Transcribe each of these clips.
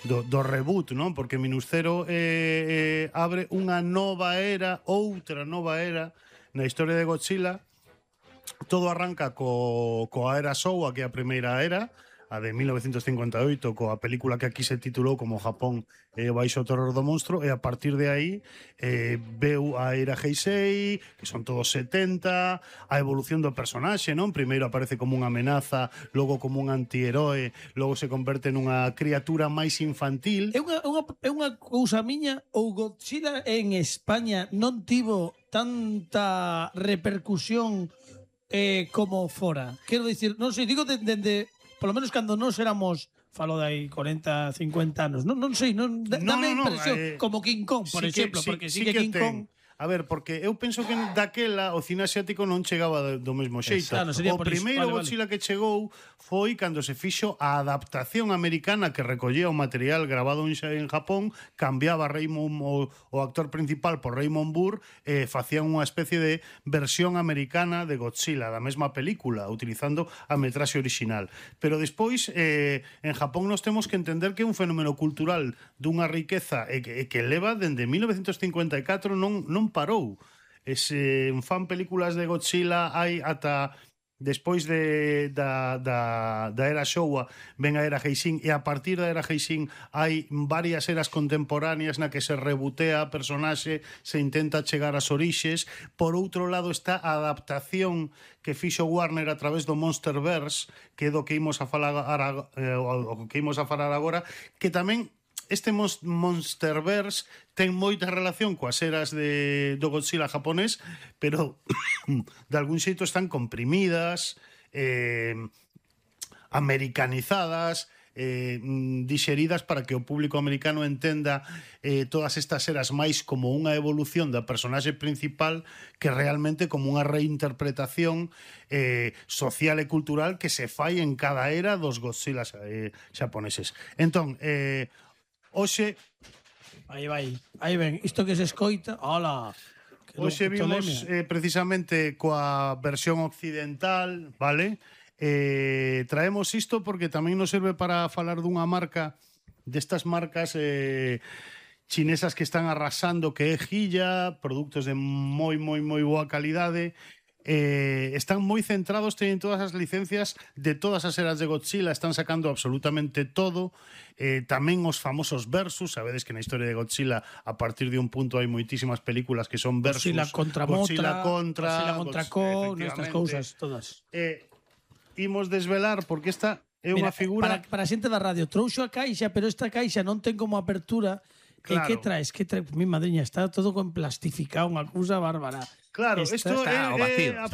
do reboot, non? Porque Minus Zero abre unha nova era, outra nova era na historia de Godzilla. Todo arranca coa era Showa, que é a primeira era, a de 1958, coa película que aquí se titulou como Japón baixo o terror do monstro, e a partir de aí veu a era Heisei, que son todos 70, a evolución do personaxe, non? Primeiro aparece como unha amenaza, logo como un antiheroe, logo se converte nunha criatura máis infantil. É unha cousa miña, ou Godzilla en España non tivo tanta repercusión como fora? Quero dicir, non sei, digo dende polo menos cando nós éramos, falo de aí 40, 50 anos, non sei, dame a impresión, como King Kong, por exemplo, porque sí que King Kong... A ver, porque eu penso que daquela o cine asiático non chegaba do mesmo xeito. Claro, O primeiro Godzilla que chegou foi cando se fixo a adaptación americana que recollía o material grabado en Japón, cambiaba o actor principal por Raymond Burr, facían unha especie de versión americana de Godzilla, da mesma película, utilizando a metraxe original. Pero despois, en Japón nos temos que entender que é un fenómeno cultural dunha riqueza e que leva dende 1954 non parou. Fan películas de Godzilla hai ata despois da era Showa ven a era Heisei, e a partir da era Heisei hai varias eras contemporáneas na que se rebotea a personaxe, se intenta chegar ás orixes. Por outro lado está a adaptación que fixo Warner a través do Monsterverse, que é do que imos a falar agora, que tamén este Monsterverse ten moita relación coas eras do Godzilla japonés, pero de algún xeito están comprimidas, americanizadas, dixeridas para que o público americano entenda todas estas eras máis como unha evolución da personaxe principal que realmente como unha reinterpretación social e cultural que se fai en cada era dos Godzilla xaponeses. Entón, hoxe... Aí ven, isto que se escoita, hola. Hoxe vimos precisamente coa versión occidental, vale? Traemos isto porque tamén nos serve para falar dunha marca, destas marcas chinesas que están arrasando, que é Hilla, produtos de moi boa calidade. Están moi centrados, teñen todas as licencias de todas as eras de Godzilla, están sacando absolutamente todo, tamén os famosos versus. Sabedes que na historia de Godzilla a partir de un punto hai moitísimas películas que son versus, Godzilla contra Godzilla contra Kong, estas cousas todas. Imos desvelar porque esta é unha figura para a xente da radio. Trouxo a caixa, pero esta caixa non ten como apertura. Claro. Que traes? Mi madriña, está todo con plastificado, unha cousa bárbara. Claro, isto está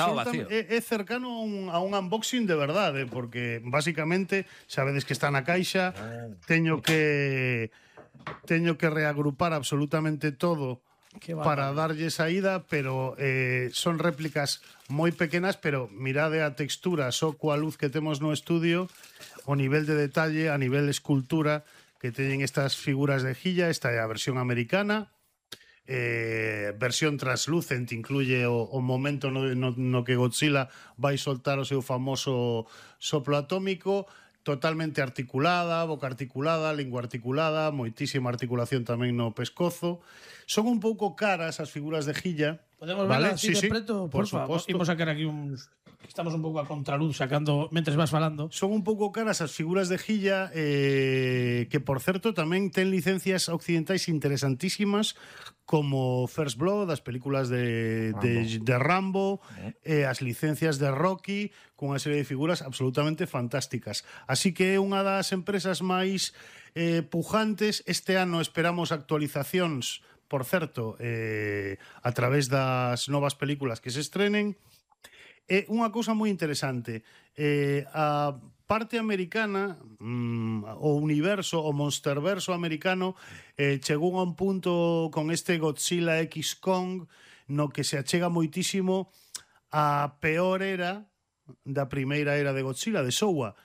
vacío. É cercano a un unboxing de verdade, porque basicamente sabedes que está na caixa, teño que reagrupar absolutamente todo para darlle saída, pero son réplicas moi pequenas, pero mirade a textura, só coa luz que temos no estudio, o nivel de detalle, a nivel de escultura que teñen estas figuras de Hilla. Esta é a versión americana, versión translúcente, incluye o momento no que Godzilla vai soltar o seu famoso soplo atómico, totalmente articulada, boca articulada, lingua articulada, moitísima articulación tamén no pescozo. Son un pouco caras as figuras de Hilla. Podemos verla así de preto, por favor. Imos sacar aquí uns... Estamos un pouco a contraluz sacando mentres vas falando. Son un pouco caras as figuras de Hilla, que por certo tamén ten licencias occidentais interesantísimas, como First Blood, as películas de Rambo, as licencias de Rocky, con unha serie de figuras absolutamente fantásticas. Así que é unha das empresas máis pujantes. Este ano esperamos actualizacións, por certo, a través das novas películas que se estrenen. Unha cousa moi interesante, a parte americana, o universo, o monsterverso americano, chegou a un punto con este Godzilla X Kong no que se achega moitísimo a peor era da primeira era de Godzilla, de Showa.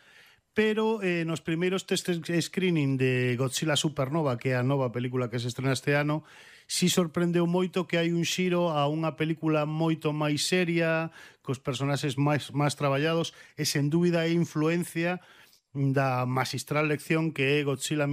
Pero nos primeiros test screening de Godzilla Supernova, que é a nova película que se estrena este ano, si sorprendeu moito que hai un xiro a unha película moito máis seria, cos personaxes máis traballados, e sen dúbida é influencia da magistral lección que é Godzilla